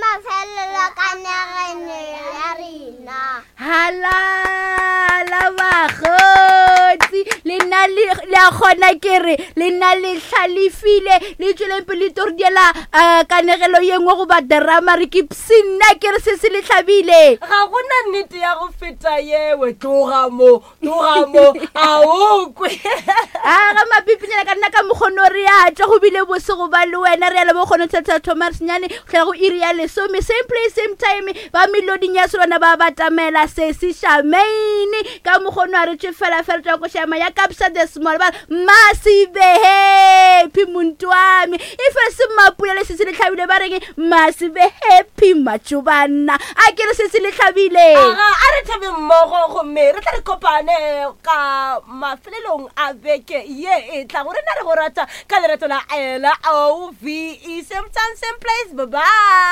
mafelelo kanegelo ya rena. Halala bakgotsi le nna le le a kgona ke re le nna le hlalefile le tšweleng pele le tlo re diela um kanegelo ye nngwe goba drama re ke psinna ke re se se le hlabile. Ga gona nnete ya go feta yewe tloga mo tloga mo a o kwe. A ga mapipinyana ka nna ka mokgono re a tšwa go bile bose go ba le wena re ya le bokgono thatha thoma senyane go tlhela go iri ya lesome same place same time ba meloding ya selwana ba batamela sesi shamaine ka mokgono a re tšwe fela fela tšwa košama ya kapsa the small ba masibe happy muntu wami e fe se mapula le sesi le tlhabile ba reng masibe happy matšobana a ke re sesi le tlhabile Aga, a re thabe mmogo gomme re tla re kopane ka mafelelong a beke ye e tla go rena re go rata ka lerato la L O V E same time same place bye bye.